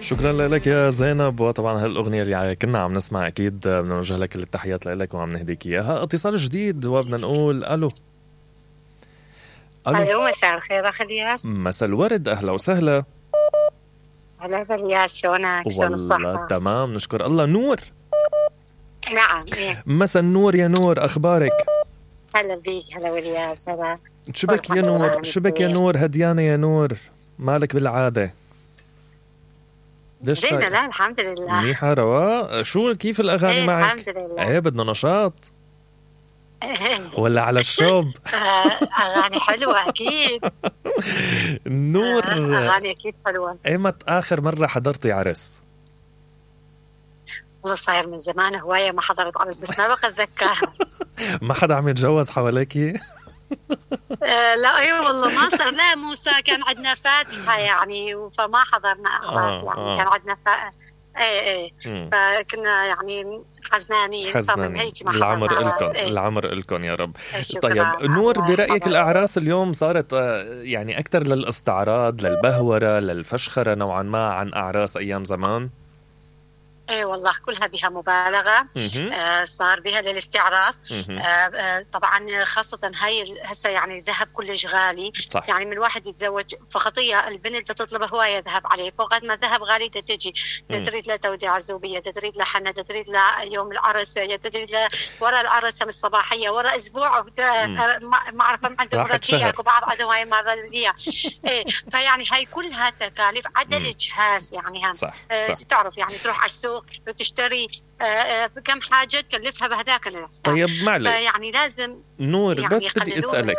شكرا لك يا زينب. وطبعا هالأغنية اللي كنا عم نسمع أكيد بدنا نوجه لك التحيات لك وعم نهديك إياها. اتصال جديد وبدنا نقول ألو. ألو مساء الخير أخ الياس. مساء الورد، أهلا وسهلا. هلا بالياس، شلونك؟ شلون الصحة؟ والله تمام نشكر الله. نور. نعم. مساء النور يا نور، أخبارك؟ هلا بيك. هلا والياس. هلا. شبك يا نور؟ شبك يا نور؟ هديانة يا نور، مالك بالعادة؟ زينة. لا الحمد لله منيحة رواق. شو كيف الأغاني معك؟ الحمد لله. بدنا نشاط ولا على الشوب؟ أغاني حلوة أكيد. نور أغاني أكيد حلوة. إيمت آخر مرة حضرتي عرس؟ والله صاير من زمان هواية ما حضرت عرس، بس ما بقى أتذكر. ما حدا عم يتجوز حواليكي؟ لا اي والله ما صار. لا موسى كان عندنا فاتحة يعني، فما حضرنا أعراس يعني. كان عندنا ايه فكنا يعني حزنانين. العمر إلكم العمر إلكم يا رب. طيب نور، برأيك الأعراس اليوم صارت يعني أكثر للاستعراض، للبهورة، للفشخرة نوعا ما عن أعراس أيام زمان؟ ايه والله كلها بها مبالغة. صار بها للاستعراض. طبعا خاصة هاي هسه يعني ذهب كلش غالي. صح. يعني من الواحد يتزوج فخطية البنت تطلب هواية ذهب عليه، فوقت ما ذهب غالي تجي تريد له توديعة زوبية، تريد له حنة، تريد له يوم العرس، تريد له ورا العرس هم الصباحية، ورا اسبوع ما اعرف هم عندهم ركيك وبعض عندهم هاي مرضية. ايه فيعني هاي كلها تكاليف عدا الإجهاز يعني. هم صح. تعرف يعني تروح على السوق وتشتري كم حاجة تكلفها بهذاك الحساب. طيب معلش يعني لازم نور يعني بس بدي اسالك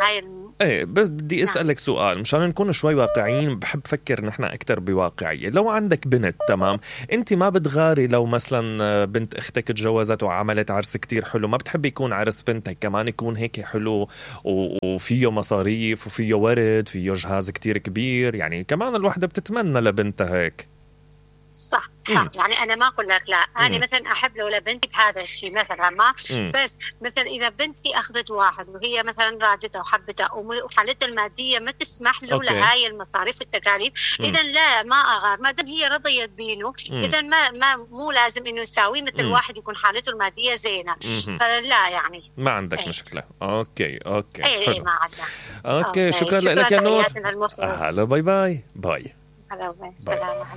بس بدي اسالك سؤال مشان نكون شوي واقعيين. بحب فكر نحن اكثر بواقعيه. لو عندك بنت تمام، انت ما بتغاري لو مثلا بنت اختك تجوزت وعملت عرس كتير حلو، ما بتحب يكون عرس بنتك كمان يكون هيك حلو وفيه مصاريف وفيه ورد، فيه جهاز كتير كبير؟ يعني كمان الوحده بتتمنى لبنتها هيك. صح. يعني أنا ما أقول لك لا. أنا مثلا أحب لو لبنتي بهذا الشيء مثلا ما بس مثلا إذا بنتي أخذت واحد وهي مثلا رادتها وحبتها وحالتها المادية ما تسمح له لهاي المصاريف والتكاليف، إذا لا ما أغار ما دام هي رضيت بينه. إذا ما مو لازم إنه يساوي مثل واحد يكون حالته المادية زينة. فلا يعني ما عندك مشكلة. أوكي أي ما عندنا. أوكي شكرا لك يا نور. هلا باي باي. هلا سلام.